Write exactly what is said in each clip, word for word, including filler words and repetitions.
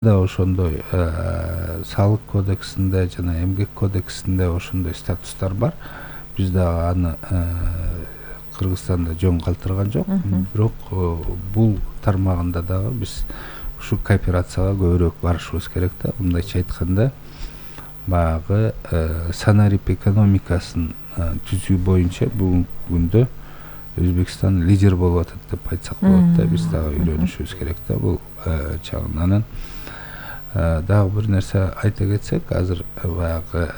да ошондой салык кодексинде жана эмгек кодексинде ошондой статустар бар. Биз дагы аны Кыргызстанда жөн калтырган жок. Бирок бул тармагында дагы биз ушу кооперацияга көбүрөөк барышыбыз керек да. Мындайча айтканда, баягы санарип экономикасын түзүү боюнча бүгүнкү күндө Өзбекстан лидер болуп атат деп айтсак болот да. Биз дагы үйрөнүшүбүз керек да бул чагынан. Дагы бир нерсе айта кетсек, азыр баягы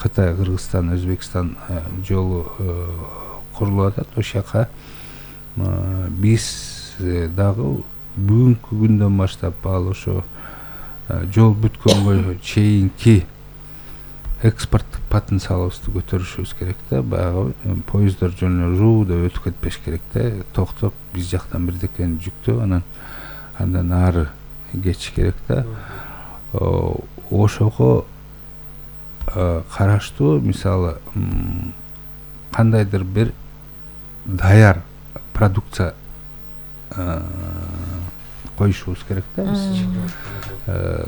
Кытай, Кыргызстан, Өзбекстан жолу курулуп атат. Ошол жака биз дагы бүгүнкү күндөн баштап ал ошо жол бүткөнгө чейинки экспорттук потенциалыбызды көтөрүшүбүз керек да. Баягы поезддор жөн эле жуу деп өтүп кетпеш керек да. Токтоп биз жактан бирдекени жүктөп, анан андан ары кетиш керек да. Ошого караштуу мисалы кандайдыр бир даяр продукция коюшубуз керек да биз.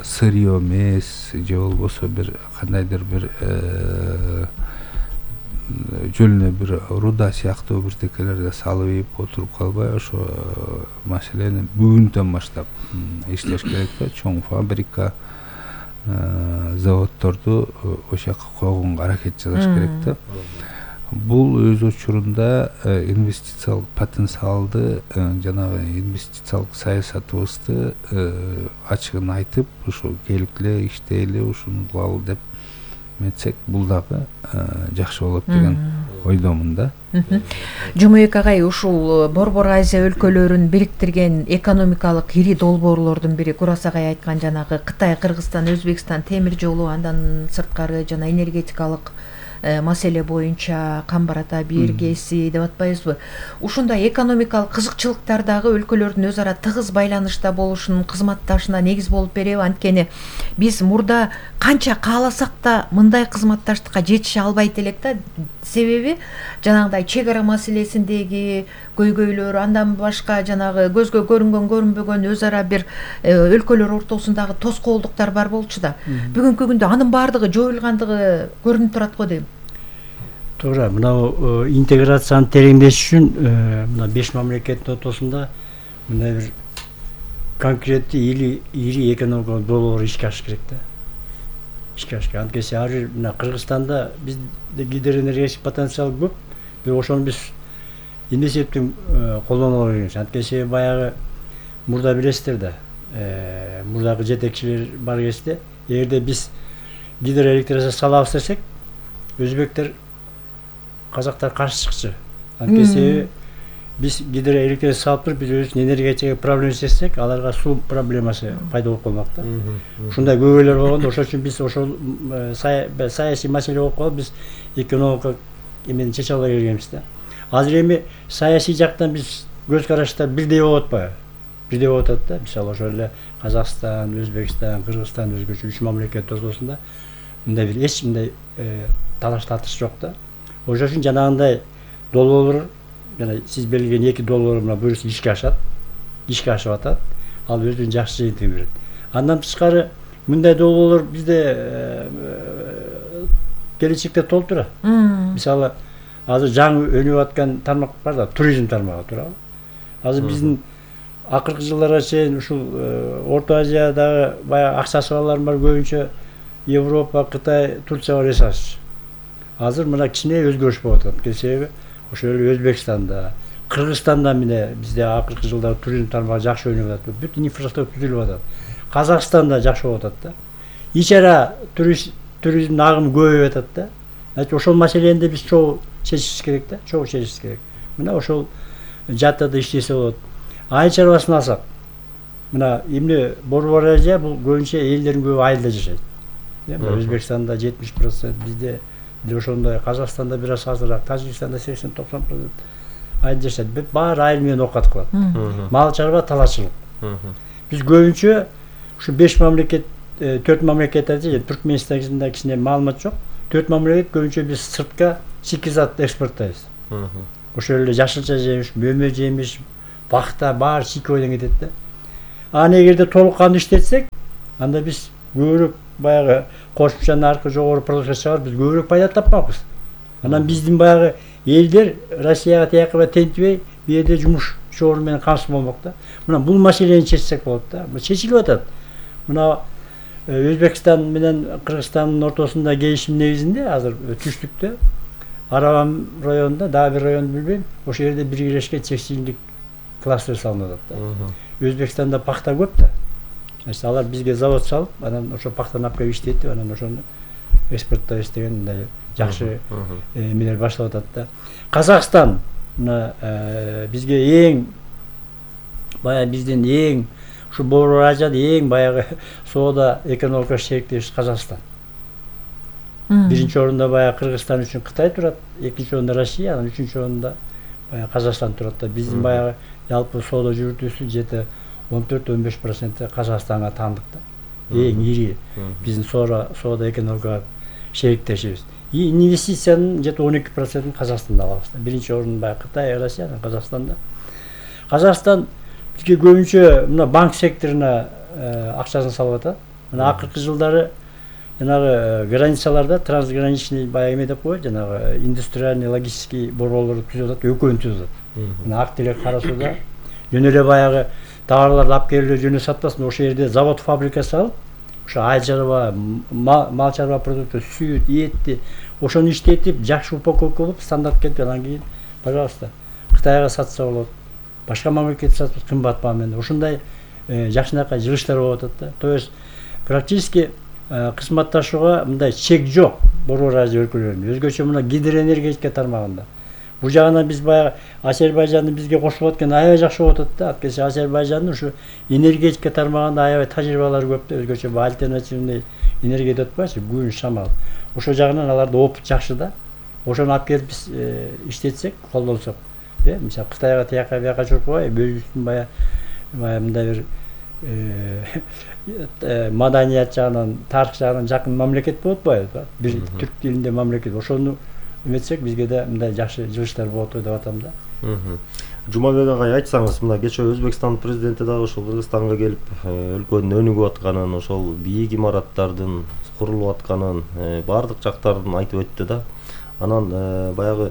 Сырье эмес же болбосо бир кандайдыр бир жөн эле бир руда сыяктуу бирдекелерди салып ийип отуруп калбай, ошо маселени бүгүндөн баштап иштеш керек да. Чоң фабрика, заводдорду ошол жака койгонго аракет жасаш керек да. Бул өз учурунда инвестициялык потенциалды, жанагы инвестициялык саясатыбызды ачыгын айтып, ушу келгиле, иштейли, ушуну кылалы деп метсек, бул дагы жакшы болот деген ойдомун да. Жумабек агай, ушул Борбор Азия өлкөлөрүн бириктирген экономикалык ири долбоорлордун бири Курас агай айткан жанагы Кытай, Кыргызстан, Өзбекстан темир жолу, андан сырткары жана энергетикалык маселе боюнча Камбар Ата биргеси деп атпайбызбы? Ушундай экономикалык кызыкчылыктар дагы өлкөлөрдүн өз ара тыгыз байланышта болушунун кызматташына негиз болуп береби? Анткени биз мурда канча кааласак да мындай кызматташтыкка жетише албайт элек да. Себеби жанагындай чек ара маселесиндеги көйгөйлөр, андан башка жанагы көзгө көрүнгөн көрүнбөгөн өз ара бир өлкөлөр ортосундагы тоскоолдуктар бар болчу да. Бүгүнкү күндө анын баардыгы жоюлгандыгы көрүнүп турат го дейм. Туура, мына интеграцияны тереңдеш үчүн мына беш мамлекеттин ортосунда мындай бир конкреттүү ири ири экономикалык долбоор ишке ашыш керек да. Ишке ашыш керек. Анткени ар бир мына Кыргызстанда бизде гидроэнергетик потенциал көп. Бирок ошону биз эмне септен колдоно албайбыз. Анткени баягы мурда билесиздер да, мурдагы жетекчилер бар кезде, эгерде биз гидроэлектрация салабыз десек, өзбектер, казактар каршы чыкчу. Анткени биз гидроэлектрация салып туруп, биз өзүбүздүн энергетика проблема чечсек, аларга суу проблемасы пайда болуп калмак да. Ушундай көйгөйлөр болгондо, ошол үчүн биз ошол саясий маселе болуп калып, биз экономикалык эмени чече албай келгенбиз да. Азыр эми саясий жактан биз көз караштар бирдей болуп атпайбы? Бирдей болуп атат да. Мисалы ошол эле Казакстан, Өзбекстан, Кыргызстан өзгөчө үч мамлекет ортосунда мындай бир эч мындай талаш тартыш жок да. Ошол үчүн жанагындай долбоорлор, жана сиз белгилеген эки долбоор мына буюрса ишке ашат, ишке ашып атат. Ал өзүнүн жакшы жыйынтыгын берет. Андан тышкары мындай долбоорлор бизде келечекте толтура. Мисалы азыр жаңы өнүп аткан тармак бар да, туризм тармагы, туурабы? Азыр биздин акыркы жылдарга чейин ушул Орто Азиядагы баягы акчасы барлар бар, көбүнчө Европа, Кытай, Турцияга жасашчу. Азыр мына кичине өзгөрүш болуп атат. Себеби ошол эле Өзбекстанда, Кыргызстанда мына бизде акыркы жылдары туризм тармагы жакшы өнүп атат. Бүтүн инфраструктура түзүлүп атат. Казакстанда жакшы болуп атат да. Ичара туризм агымы көбөйүп атат да. Значит, ошол маселени биз чогуу чечишибиз керек да, чогуу чечишибиз керек. Мына ошол жаттада иштесе болот. Айыл чарбасын алсак, мына эмне Борбор Азия бул көбүнчө элдердин көбү айылда жашайт. Өзбекстанда жетимиш процент, бизде ошондой, Казакстанда бир аз азыраак, Тажикстанда сексен токсон процент айылда жашайт. Баары айыл менен оокат кылат. Мал чарба, талашчылык. Биз көбүнчө ушу беш мамлекет, төрт мамлекет айтып, Түркмөнстанда кичине маалымат жок. Төрт мамлекет көбүнчө биз сыртка шикизат экспорттойбуз. Ошол эле жашылча жемиш, мөмө жемиш, бакта баары чийкөйдөн кетет да. аны эгерде толук кандуу иштетсек, анда биз көбүрөөк баягы кошумча наркы жогору продукция чыгарып биз көбүрөөк пайда тапмакпыз. Анан биздин баягы элдер Россияга тиякка тентибей бу жерде жумуш орду менен камсыз болмок да. Мына бул маселени чечсек болот да. Бул чечилип атат. Мына Өзбекстан менен Кыргызстандын ортосунда келишим негизинде азыр түштүктө Арабам районунда, дагы бир районду билбейм, ошол жерде биргелешкен текстилдик кластер салынып атат да. Өзбекстанда пахта көп да. Значит, алар бизге завод салып, анан ошо пахтаны алып келип иштетип, анан ошону экспорттойбуз деген мындай жакшы эмелер башталып атат да. Казакстан мына бизге эң баягы биздин эң ушу Борбор Азияда эң баягы соода экономика шериктешибиз Казакстан. Биринчи орунда баягы Кыргызстан үчүн Кытай турат, экинчи орунда Россия, анан үчүнчү орунда баягы Казакстан турат да. Биздин баягы жалпы соода жүрүтүүсү жети он төрт он беш проценти Казакстанга таандык да. Эң ири биздин соода соода экономика шериктешибиз. И инвестициянын жети он эки процентин Казакстанда алабыз да. Биринчи орун баягы Кытай, Россия, анан Казакстанда. Казакстан бизге көбүнчө мына банк секторуна акчасын салып атат. Мына акыркы жылдары жанагы границаларда трансграничный баягы эме деп коет, жанагы индустриальный логистический борборлорду түзүп атат, экөөнү түзүп атат. Мына ак телек кара сууда жөн эле баягы товарларды алып келип жөнү сатпасын, ошол жерде завод, фабрика салып, ошо айыл чарба, мал чарба продукты, сүт, этти ошону иштетип, жакшы упаковка кылып, стандарт кетип, анан кийин, пожалуйста, Кытайга сатса болот, башка мамлекетке сатып кымбат баа менен. Ошондой жакшынакай жылыштар болуп атат да. То есть практически кызматташууга мындай чек жок Борбор Азия өлкөлөрүнүн. Өзгөчө мына гидроэнергетика тармагында. Бул жагынан биз баягы Азербайжандын бизге кошулуп атканы аябай жакшы болуп атат да. Анткени Азербайжандын ушу энергетика тармагында аябай тажрыйбалары көп да. Өзгөчө бул альтернативный энергия деп атпайбызбы, күн, шамал. Ошол жагынан аларда опыт жакшы да. Ошону алып келип биз иштетсек, колдонсок, э, мисалы Кытайга тияка бияка чуркубай, өзүбүздүн баягы баягы мындай бир маданият жагынан, тарых жагынан жакын мамлекет болуп атпайбы? Бир түрк тилинде мамлекет. Ошону эметсек бизге да мындай жакшы жылыштар болот деп атам да. Жумабек агай, айтсаңыз, мына кечээ Өзбекстан президенти дагы ошол Кыргызстанга келип, өлкөнүн өнүгүп атканын, ошол бийик имараттардын курулуп атканын, баардык жактарын айтып өттү да. Анан баягы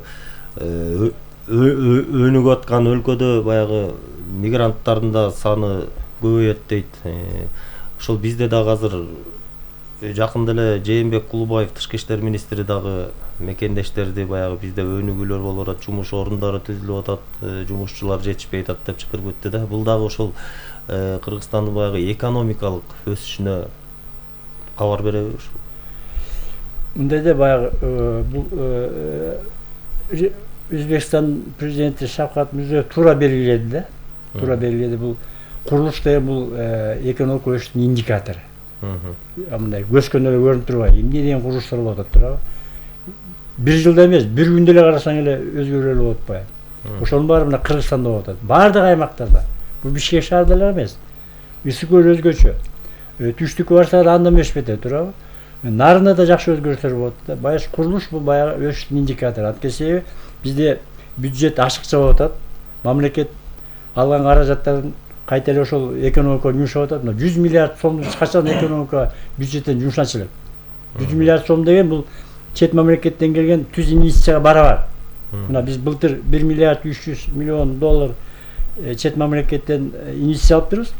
өнүгүп аткан өлкөдө баягы мигранттардын да саны көбөйөт дейт. Ошол бизде дагы азыр жакында эле Жээнбек Кулубаев тышкы иштер министри дагы мекендештерди баягы бизде өнүгүүлөр болуп атат, жумуш орундары түзүлүп атат, жумушчулар жетишпей атат деп чакырып өттү да. Бул дагы ошол Кыргызстандын баягы экономикалык өсүшүнө кабар береби ушул? Мындай да баягы бул Өзбекстан президенти Шавкат Мирзиёев туура белгиледи да. Туура белгиледи. Бул курулуш деген бул экономика өсүшүнүн индикатору. Мындай көзкөн эле көрүнүп турбайбы? Эмне деген курулуштар болуп атат туурабы? Бир жылда эмес, бир күндө эле карасаң эле өзгөрүүлөр болуп атпайбы? Ошонун баары мына Кыргызстанда болуп атат. Баардык аймактарда. Бул Бишкек шаарда эле эмес. Ысык көл өзгөчө. Түштүккө барсак анда эмес бете туурабы? Нарында да жакшы өзгөрүштөр болот да. Баягы курулуш бул баягы өсүштүн индикатору. Анткени бизде бюджет ашыкча болуп атат. Мамлекет алган каражаттардын кайта эле ошол экономикага жумшап атат. Мына жүз миллиард сомду качан экономика бюджеттен жумшатчу элек. жүз миллиард сом деген бул чет мамлекеттен келген түз инвестицияга барабар. Мына биз былтыр бир миллиард үч жүз миллион доллар чет мамлекеттен инвестиция алыптырбыз.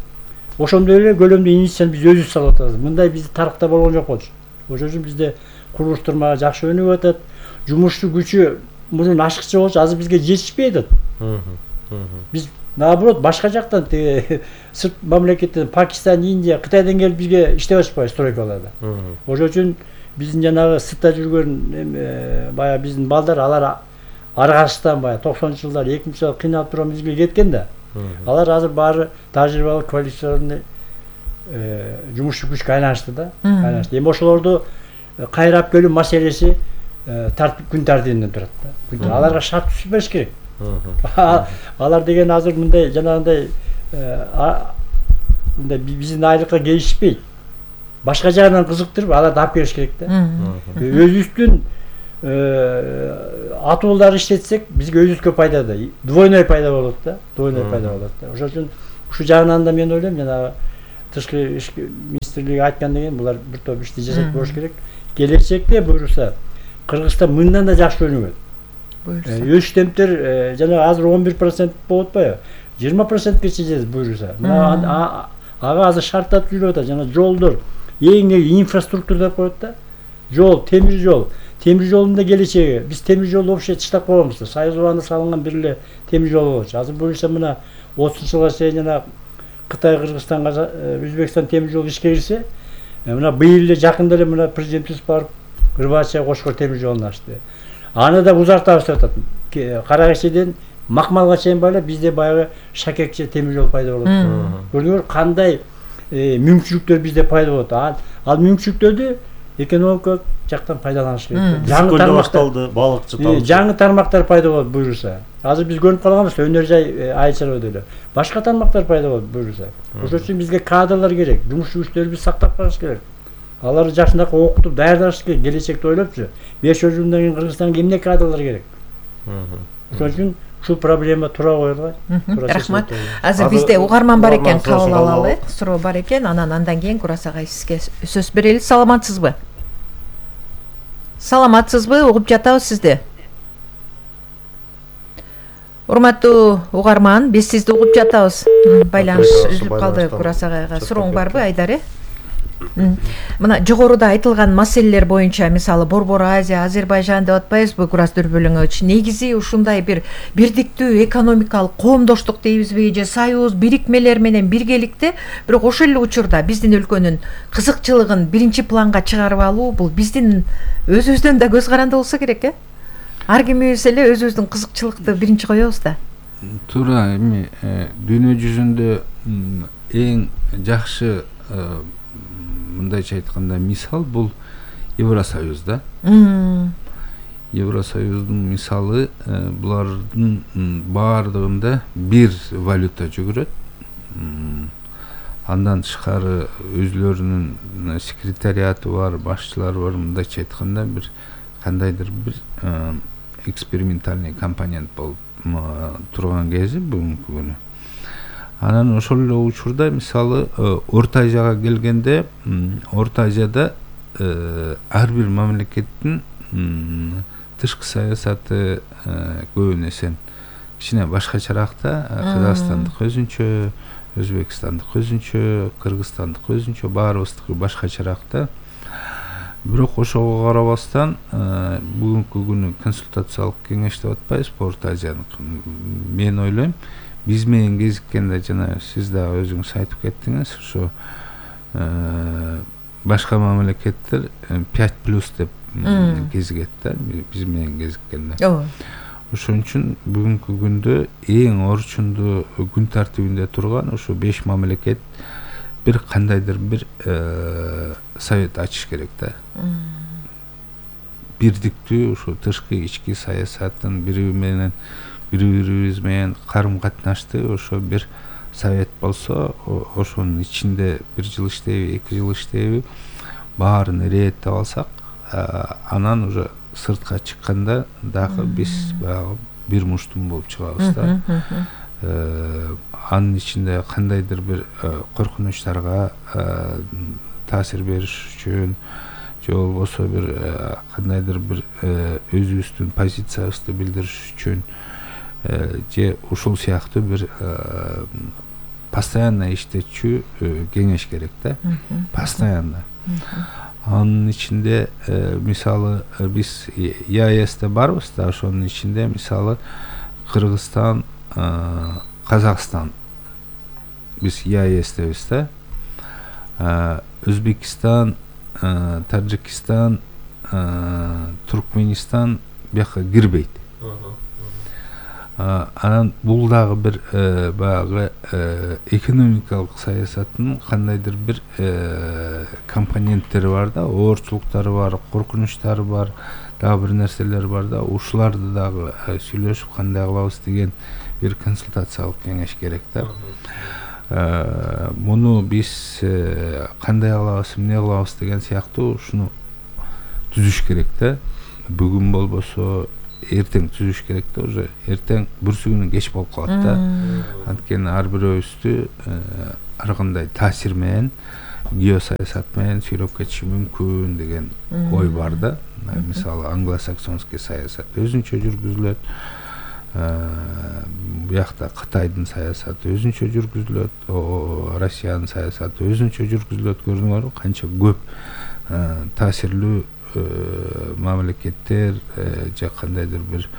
Ошондой эле көлөмдө инвестицияны биз өзүбүз салып атабыз. Мындай бизде тарыхта болгон жок болчу. Ошон үчүн бизде курулуш тармагы жакшы өнүгүп атат. Жумуштуу күчү мурун ашыкча болчу, азыр бизге жетишпей атат. Биз наоборот башка жактан сырт мамлекеттен, Пакистан, Индия, Кытайдан келип бизге иштеп атышпайбы стройкаларда. Ошон үчүн биздин жанагы сыртта жүргөн баягы биздин балдар алар ар кайсыдан баягы токсонунчу жылдары эки миңинчи жылы кыйналып турган бизге кеткен да. Алар азыр баары тажрыйбалык, квалификационный жумушчу күчкө айланышты да. Айланышты. Эми ошолорду кайрап келүү маселеси тартип күн тартибинен турат да. Аларга шарт түзүп бериш керек. Алар деген азыр мындай жанагындай мындай биздин айлыкка келишпейт. Башка жагынан кызыктырып аларды алып келиш керек да. Өзүбүздүн атууларды иштетсек бизге өзүбүзгө пайда да. Двойной пайда болот да. Двойной пайда болот да. Ошон үчүн ушул жагынан да мен ойлойм жанагы тышкы ишки министрлиги айткан деген булар бир топ ишти жасап болуш керек. Келечекте буюрса Кыргызстан мындан да жакшы өнүгөт. Буюрса. Өш темптер жана азыр он бир процент болуп атпайбы? жыйырма процентке чейин буюрса. Мына ага азыр шарттап жүрүп атат. Жана жолдор эң негизи инфраструктура деп коет да. Жол, темир жол. Темир жолдун да келечеги. Биз темир жолду вообще таштап койгонбуз. Союз убагында салынган бир эле темир жол болчу. Азыр буюрса мына отузунчу жылга чейин жана Кытай, Кыргызстанга, Өзбекстан темир жолу ишке кирсе, мына быйыл эле жакында эле мына президентибиз барып Кырбача Кошкор темир жолун ачты. Аны да узартабыз деп атат. Каракешеден Макмалга чейин байлап бизде баягы Шакекче темир жол пайда болот. Көрдүңөр кандай мүмкүнчүлүктөр бизде пайда болот. Ал мүмкүнчүлүктөрдү экономикалык жактан пайдаланыш керек. Жаңы тармакталды, балыкчы талды. Жаңы тармактар пайда болот буюрса. Азыр биз көрүп калганбыз, өнөр жай айчарбы деле. Башка тармактар пайда болот буюрса. Ошол үчүн бизге кадрлар керек, жумуш күчтөрүбүздү сактап калыш керек. Аларды жакшынакы окутуп даярдаш керек, келечекти ойлопчу. беш жылдан кийин Кыргызстанга эмне кадрлар керек? Ошол үчүн ушул проблема тура коюлган. Рахмат. Азыр бизде угарман бар экен, кабыл алалы. Суроо бар экен, анан андан кийин Курас агай сизге сөз берели. Саламатсызбы? Саламатсызбы? Угуп жатабыз сизди. Урматтуу угарман, биз сизди угуп жатабыз. Байланыш үзүлүп калды Курас агайга. Сурооң барбы, Айдар? Мына жогоруда айтылган маселелер боюнча, мисалы Борбор Азия, Азербайжан деп атпайбызбы Курас Дүрбөлөңүч? Негизи ушундай бир бирдиктүү экономикалык коомдоштук дейбизби, же союз, бирикмелер менен биргеликте, бирок ошол эле учурда биздин өлкөнүн кызыкчылыгын биринчи планга чыгарып алуу бул биздин өзүбүздөн да көз каранды болсо керек, э? Ар кимибиз эле өзүбүздүн кызыкчылыкты биринчи коебуз да. Туура, эми дүйнө жүзүндө эң жакшы мындайча айтканда мисал бул Евросоюз да. Евросоюздун мисалы булардын баардыгында бир валюта жүгүрөт. Андан тышкары өзлөрүнүн секретариаты бар, башчылары бар. Мындайча айтканда бир кандайдыр бир экспериментальный компонент болуп турган кези бүгүнкү күнү. Анан ошол эле учурда мисалы Орто Азияга келгенде, Орто Азияда ар бир мамлекеттин тышкы саясаты көбүн эсен кичине башкачараак да. Кыргызстандык өзүнчө, Өзбекстандык өзүнчө, Кыргызстандык өзүнчө, баарыбыздыкы башкачараак да. Бирок ошого карабастан бүгүнкү күнү консультациялык кеңеш деп атпайбызбы Орто Азияныкы? Мен ойлойм, биз менен кезиккенде жана сиз да өзүңүз айтып кеттиңиз, ошо башка мамлекеттер пять плюс деп кезигет да, биз менен кезиккенде. Ооба. Ошон үчүн бүгүнкү күндө эң орчундуу күн тартибинде турган ошо беш мамлекет бир кандайдыр бир совет ачыш керек да. Бирдиктүү ошо тышкы ички саясатын бири менен бири-бирибиз менен карым-катнашты ошо бир совет болсо, ошонун ичинде бир жыл иштейби, эки жыл иштейби, баарын реттеп алсак, анан уже сыртка чыкканда дагы биз баягы бир муштум болуп чыгабыз да. Анын ичинде кандайдыр бир коркунучтарга таасир бериш үчүн, же болбосо бир кандайдыр бир өзүбүздүн позициябызды билдириш үчүн, же ушул сыяктуу бир постоянно иштечү кеңеш керек да. Постоянно. Анын ичинде мисалы биз ЕАЭСте барбыз да, ошонун ичинде мисалы Кыргызстан, Казакстан биз ЕАЭСтебиз да. Өзбекистан, Таджикистан, Туркменистан бияка кирбейт. Анан бул дагы бир баягы экономикалык саясаттын кандайдыр бир компоненттери бар да, оорчулуктары бар, коркунучтары бар, дагы бир нерселер бар да. Ушуларды дагы сүйлөшүп кандай кылабыз деген бир консультациялык кеңеш керек да. Муну биз кандай кылабыз, эмне кылабыз деген сыяктуу ушуну түзүш керек да. Бүгүн болбосо эртең түзүш керек да, уже эртең бүрсү күнү кеч болуп калат да. Анткени ар бирөөбүздү ар кандай таасир менен, геосаясат менен сүйлөп кетиши мүмкүн деген ой бар да. Мисалы англосаксонский саясат өзүнчө жүргүзүлөт, буякта Кытайдын саясаты өзүнчө жүргүзүлөт, Россиянын саясаты өзүнчө жүргүзүлөт. Көрдүңөрбү канча көп таасирлүү мамлекеттер же кандайдыр бир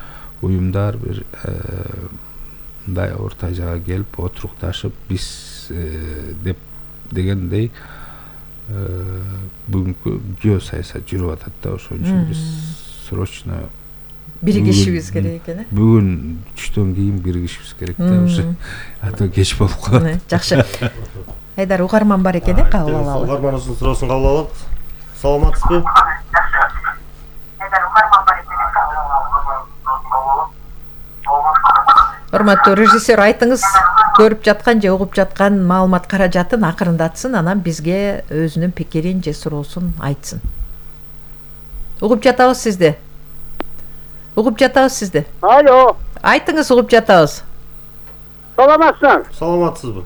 уюмдар бир мындай орто жайга келип отурукташып биз деп дегендей бүгүнкү геосаясат жүрүп атат да. Ошон үчүн биз срочно биригишибиз керек экен. Бүгүн түштөн кийин биригишибиз керек да, уже а то кеч болуп калат. Жакшы. Айдар угарман бар экен, кабыл алалы. Угарманыбыздын суроосун кабыл алалы. Саламатсызбы? Урматтуу режиссер, айтыңыз, көрүп жаткан же угуп жаткан маалымат каражатын акырындатсын, анан бизге өзүнүн пикирин же суроосун айтсын. Угуп жатабыз сизди. Угуп жатабыз сизди. Алло. Айтыңыз, угуп жатабыз. Саламатсызбы? Саламатсызбы?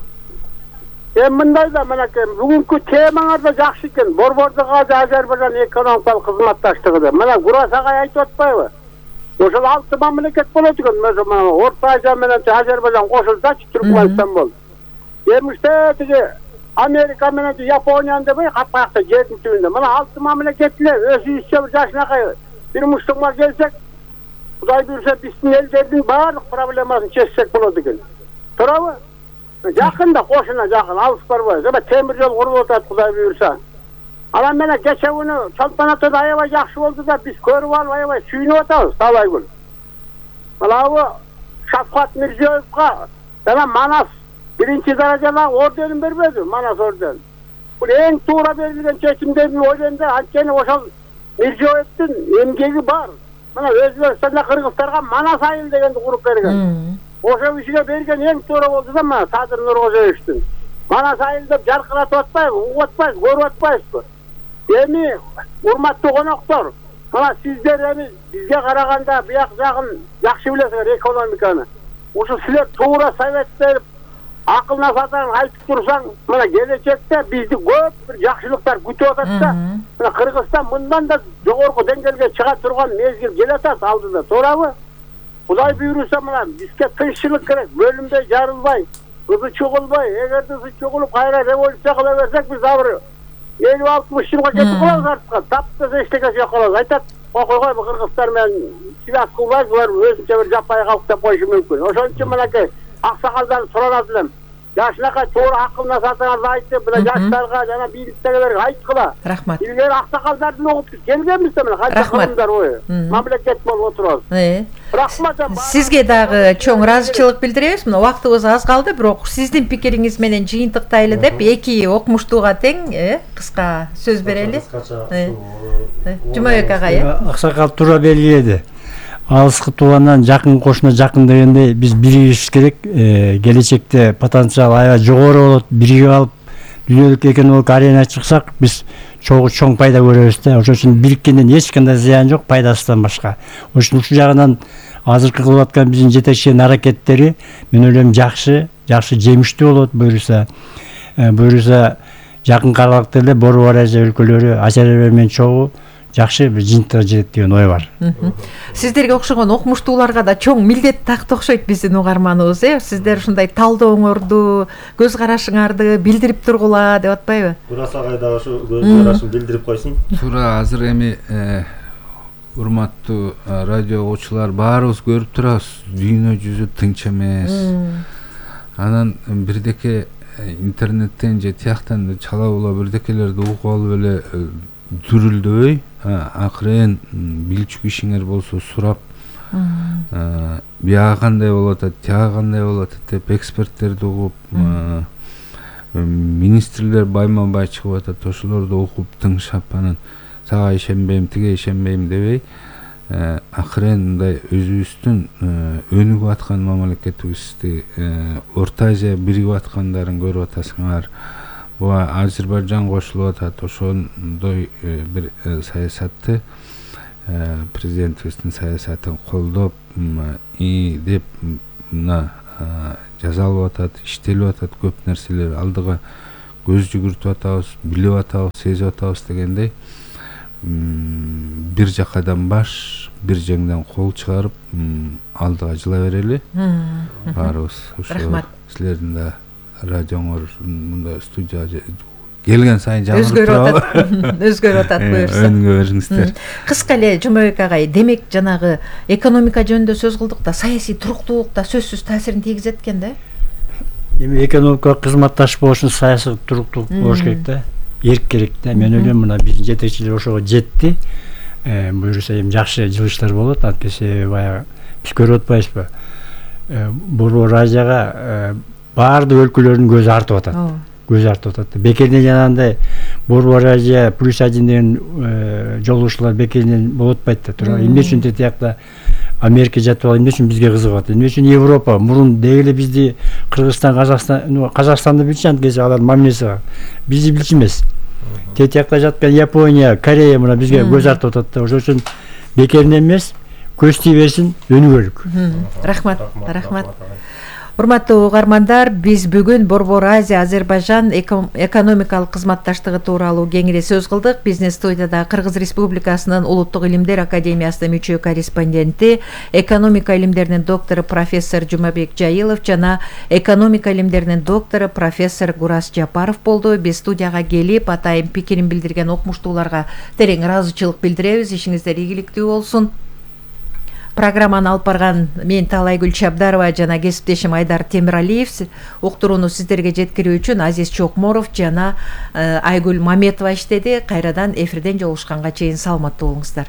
Эми мындай да, мынакей бүгүнкү темаңар да жакшы экен. Борбордуга Азербайжан экономикалык кызматташтыгы. Мына Гурасагай айтып атпайбы? Ошол алты мамлекет болот экен. Мына Орто Азия менен Азербайжан кошулсачы, Түркмөнстан болду. Эмиште тиги Америка менен Япониянын дебей капкакта жердин түбүндө. Мына алты мамлекет эле өзүбүзчө бир жашынакай бир муштукка келсек, Кудай буйрса биздин элдердин баардык проблемасын чечсек болот экен. Туурабы? Жакында кошуна жакын, алыс барбайбыз. Эми темир жол курулуп атат, Кудай буйрса. Анан менен кече күнү чемпионатта аябай жакшы болду да, биз көрүп алып аябай сүйүнүп атабыз талай күн. Мынабу Шавкат Мирзиёевго жана Манас биринчи даражалуу орденин бербеди, Манас орден. Бул эң туура берилген чечим деп ойлойм да, анткени ошол Мирзиёевдин эмгеги бар. Мына Өзбекстанда Кыргызстанга Манас айыл дегенди куруп берген. Ошол кишиге берген эң туура болду да, мына Садыр Нуркожоевичтин. Манас айыл деп жаркыратып атпайбы, угуп атпайбыз, көрүп атпайбызбы? Эми урматтуу коноктор, мына сиздер эми бизге караганда бияк жагын жакшы билесиңер экономиканы. Ошо силер туура совет берип, акыл насаатын айтып турсаң, мына келечекте бизди көп бир жакшылыктар күтүп атат да. Мына Кыргызстан мындан да жогорку деңгээлге чыга турган мезгил келатат алдыда, туурабы? Кудай буйруса мына бизге тынччылык керек, бөлүнбөй жарылбай, ызы чугулбай, эгерде ызы чугулуп кайра революция кыла берсек, биз абыр элүү алтымыш жылга кетип калабыз артка. Таптаса эчтеке жок калабыз. Айтат, окуйгой Кыргызстан менен связь кылбайбыз, булар өзүнчө бир жаппай калып деп коюшу мүмкүн. Ошон үчүн мынакей аксакалдарды суранат элем. Жашынакай туура акыл насаатыңарды айтып, мына жаштарга жана бийликтегилерге айткыла. Рахмат. Илгери аксакалдардын угуп келгенбиз да, мына канча кылымдар бою мамлекет болуп отурабыз. Рахмат. Сизге дагы чоң ыраазычылык билдиребиз. Мына убактыбыз аз калды, бирок сиздин пикириңиз менен жыйынтыктайлы деп эки окумуштууга тең кыска сөз берели. Жумабек агай. Аксакал туура белгиледи. Алыскы туугандан жакын кошуна жакын дегендей биз биригишибиз керек. Келечекте потенциал аябай жогору болот. Биригип алып дүйнөлүк экономикалык аренага чыксак, биз чогуу чоң пайда көрөбүз да. Ошон үчүн бириккенден эч кандай зыян жок, пайдасынан башка. Ошон үчүн ушул жагынан азыркы кылып аткан биздин жетекчилердин аракеттери мен ойлойм жакшы, жакшы жемиштүү болот буйруса. Буйруса жакын аралыкта эле Борбор Азия өлкөлөрү Азербайжан менен чогуу жакшы бир жыйынтыкка жетет деген ой бар. Сиздерге окшогон окумуштууларга да чоң милдет такты окшойт биздин угарманыбыз, э? Сиздер ушундай талдооңорду, көз карашыңарды билдирип тургула деп атпайбы? Гурасагай да ошо көз карашын билдирип койсун. Туура, азыр эми урматтуу радио угуучулар баарыбыз көрүп турабыз, дүйнө жүзү тынч эмес. Анан бирдеке интернеттен же тияктан чала була бирдекелерди угуп алып эле дүрүлдөбөй, акырын билчү кишиңер болсо сурап, бияга кандай болот атат, тияга кандай болот атат деп эксперттерди угуп, министрлер байма-бай чыгып атат, ошолорду окуп тыңшап, анан сага ишенбейм, тиге ишенбейм дебей, акырын мындай өзүбүздүн өнүгүп аткан мамлекетибизди, Орто Азия биригип аткандарын көрүп атасыңар. Бу Азербайжан кошулуп атат, ошондой бир саясатты президентибиздин саясатын колдоп и деп мына жасалып атат, иштелип атат, көп нерселер алдыга көз жүгүртүп атабыз, билип атабыз, сезип атабыз дегендей бир жакадан баш, бир жеңден кол чыгарып алдыга жыла берели. Баарыбыз ошо силердин да радионуңор мындай студияга келген сайын жаңырып турабы? Өзгөрүп атат буюрса. Өнүгө бериңиздер. Кыска эле Жумабек агай, демек жанагы экономика жөнүндө сөз кылдык да, саясий туруктуулук да сөзсүз таасирин тийгизет экен да. Эми экономикалык кызматташ болуш үчүн саясий туруктуулук болуш керек да. Эрк керек да. Мен ойлойм, мына биздин жетекчилер ошого жетти. Буюрса эми жакшы жылыштар болот, антесе баягы биз көрүп атпайбызбы? Борбор Азияга баардык өлкөлөрдүн көзү артып атат. Көз артып атат. Бекерден жанагындай Борбор Азия плюс один деген жолугушуулар бекерден болуп атпайт да. Тура эмне үчүн тиякта Америка жатып алып, эмне үчүн бизге кызыгып атат? Эмне үчүн Европа мурун деги эле бизди Кыргызстан, Казакстан, Казакстанды билчү, анткени алар мамилеси бар. Бизди билчү эмес. Тиякта жаткан Япония, Корея мына бизге көз артып атат да. Ошон үчүн бекерден эмес, көз тие берсин, өнүгөлүк. Рахмат, рахмат. Урматтуу угармандар, биз бүгүн Борбор Азия Азербайжан экономикалык кызматташтыгы тууралуу кеңири сөз кылдык. Биздин студияда Кыргыз Республикасынын Улуттук илимдер академиясынын мүчө корреспонденти, экономика илимдеринин доктору профессор Жумабек Жайылов жана экономика илимдеринин доктору профессор Гурас Жапаров болду. Биз студияга келип, атайын пикирин билдирген окумуштууларга терең ыраазычылык билдиребиз. Ишиңиздер ийгиликтүү болсун. Программаны алып барган мен Талайгүл Чабдарова жана кесиптешим Айдар Темиралиев, уктурууну сиздерге жеткирүү үчүн Азиз Чокморов жана Айгүл Маметова иштеди. Кайрадан эфирден жолугушканга чейин саламаттуу болуңуздар.